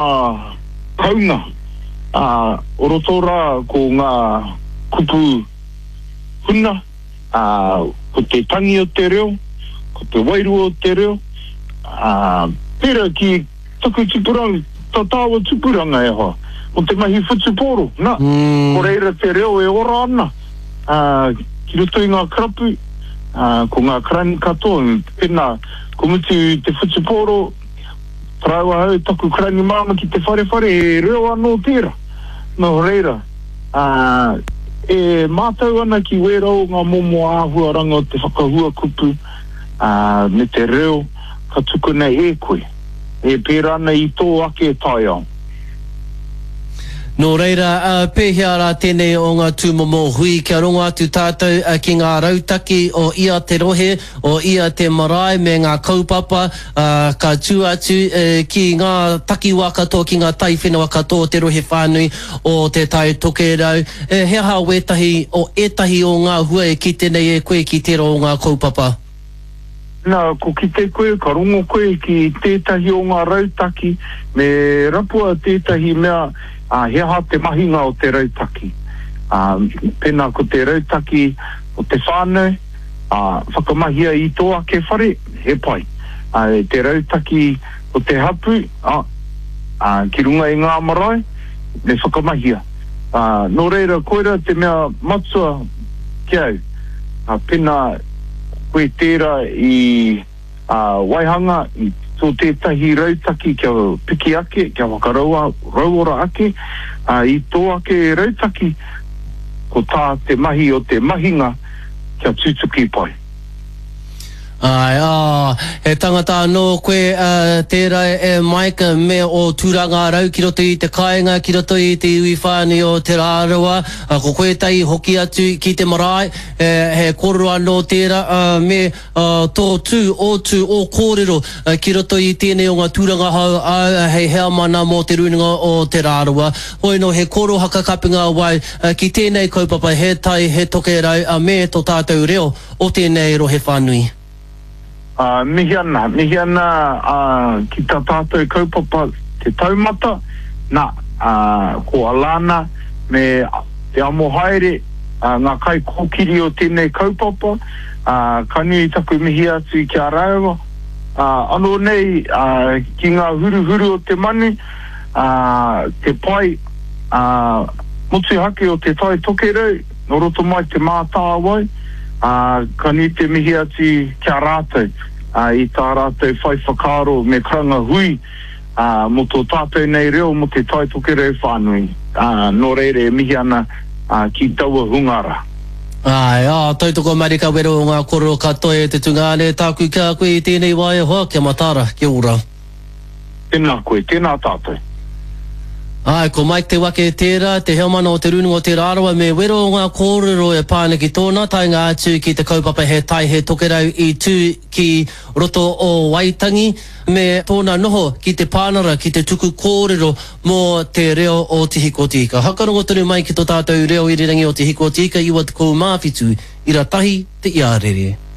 Kounga, ā, o roto rā ko ngā kupu huna, ā, ko te tangi o te reo, ko te wairua o te reo, ā, pērā ki taku tupuranga, tā tāua tupuranga e hoa, mō te mahi whutupōro, nā, ko reira te reo e ora ana, ā, ki roto i ngā karapu, ā, ko ngā karani katoa, pēnā, ko mutu te whutupōro, Tarau ahau taku karani māma ki te wharewhare, he reo anō tērā. Nō reira, ā, e mātau ana ki wērā o ngā momo āhuaranga o te whakahua kupu, ā, me te reo ka tukuna e koe, e pērā ana i tō ake taiao. Nō reira, pēhea rā tēnei o ngā tūmomo hui kia rongo atu tātou ki ngā rautaki o ia te rohe, o ia te marae me ngā kaupapa ka tū atu ki ngā takiwā katoa, ki ngā taiwhenua katoa o te rohe whānui o Te Tai Tokerau. He aha wētahi o ētahi o ngā hua e kite nei e koe ki tērā o ngā kaupapa? Nā, ko kite koe, ka rongo koe ki tētahi o ngā rautaki, me rapua tētahi mea, ā, he aha te mahinga o te rautaki. Ā, pēnā ko te rautaki o te whānau, ā, whakamahia i tō ake whare, he pai. Ā, te rautaki o te hapū, ā, ā, ki runga i ngā marae, me whakamahia. Ā, nō reira, koirā te mea matua ki au, ā, pēnā, Koe tērā i waihanga i tō tētahi rautaki kia piki ake, kia whakarauora ake i tō ake rautaki, ko tā te mahi o te mahinga kia tutuki pai. Āe, ā, he tangata anō koe tērā e Mike me ō tūranga rau ki roto i te kāinga, ki roto i te iwi whānui o Te Rarawa, ko koe tai hoki atu ki te marae, He kōrero anō tērā, me tō tū, ō tū, ō kōrero ki roto i tēnei o ngā tūranga hou āu hei heamana mō Te Rūnanga o Te Rarawa. Hoi nō he kōrero hakakapinga wai ki tēnei kaupapa he tai, he tokerau me tō tātou reo o tēnei rohe whānui. Ā, mihi ana, mihi ana ki tā tātou kaupapa Te Taumata, nā, ā, ko Alana me Te Amohaere ngā kaikōkiri o tēnei kaupapa, ā, ka nui taku mihi atu ki a rāua, ā, anō nei, ā, ki ngā huruhuru o te manu, ā, te pae, ā, motuhake o Te Tai Tokerau, Nō roto mai Te Mātāwai, ā, ka nui te mihi atu ki a rātou, ā, i tā rātou whai whakaaro me karanga hui, ā, mō tō tātou nei reo mō Te Tai Tokerau whānui, ā, nō reira e mihi ana, ā, ki taua hunga rā. Āe, ā, tautoko marika wero o ngā kōrero katoa e te tungāne, tāku ki a koe i tēnei wā e hoa, kia mataara, kia ora. Tēnā koe, tēnā tātou. Āe, ko Mike Te Wake tērā, te heamana o Te Rūnanga o Te Rarawa me wero o ngā kōrero e pā ana ki tōna taenga atu ki te kaupapa He Tai He Tokerau i tū ki roto o Waitangi me tōna noho ki te pānara ki te tuku kōrero mō te reo o Te Hiko o Te Ika. Hakarongo tonu mai ki tō tātou reo irirangi o Te Hiko o Te Ika 97 ira tahi te iarere.